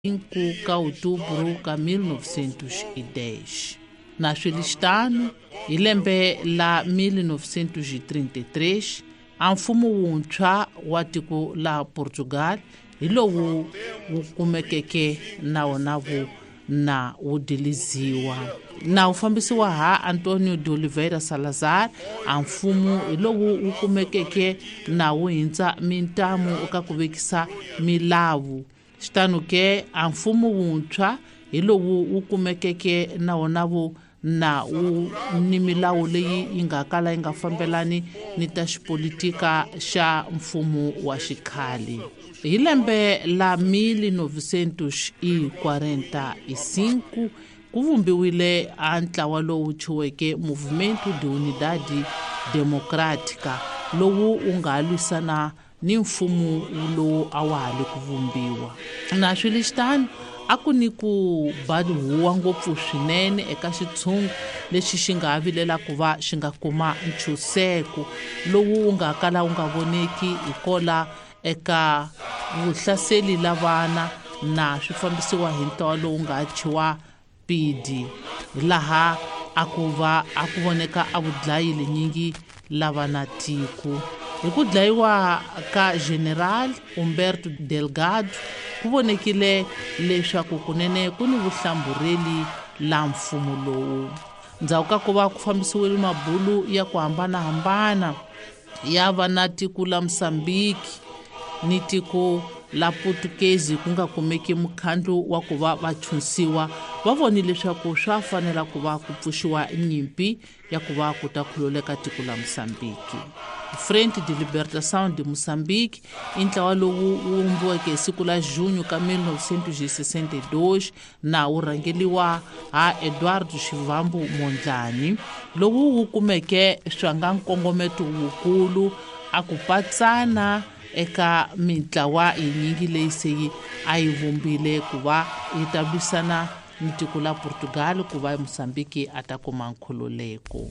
5 ka outubro ka 1910. Na swilistano hi lembe la 1933 a mfumo wuntshwa wa tiko la Portugal hi lowu wu kumekeke na wona wu na wu diliziwa na wu fambisiwa ha Antonio de Oliveira Salazar. A mfumo hi lowu wu kumekeke na wu hindza mintamu eka ku vekisa milawu. Xitano ke a mfumo wuntshwa hi lowu wu kumekeke na wona wu na wu ni milawu leyi yi nga kala yi nga fambelani ni ta xipolitika xa mfumo wa xikhale. Hi lembe la 1945 ku vumbiwile a ntlawa lowu thyiweke Movimento de Unidade Democrática lowu wu nga lwisana ni mfumo lowu a wa ha le ku vumbiwa. Na swilistano a ku ni ku ba huwa ngopfu swinene eka xitshungu lexi xi nga vilela ku va xi nga kuma ntshunxeko lowu wu nga kala wu nga voneki hikola eka vuhlaseli la vana na swi fambisiwa hi ntlawa lowu nga thyiwa PD laha a ku va a ku voneka a vudlayi lenyingi lava na tiko. Hi ku dlayiwa ka General Humberto Delgado ku vonekile leswaku kunene ku ni vuhlambureli la mfumo lowu. Ndzhaku ka ku va ku fambisiwile mabulu ya ku hambanahambana ya va na tiko la Mozambique ni tiko la Portuguese ku nga kumeki mukhandlu wa ku va va chunsiwa, va vonile leswaku swa fanela ku va ku pfuxiwa nyimpi ya ku va ku ta khululeka tiko la Mozambique. Frente de Libertação de Moçambique i ntlawa lowu wu vumbiweke hi siku la junho ka 1962 na wu rhangeliwa ha Eduardo Shivambu Mondlane, lowu wu kumeke swa nga nkongometo wukulu a ku patsana eka mintlawa yinyingi leyi se a yi vumbile ku va yi ta lwisana ni tiko la Portugal ku va Mozambique a ta kuma nkhululeko.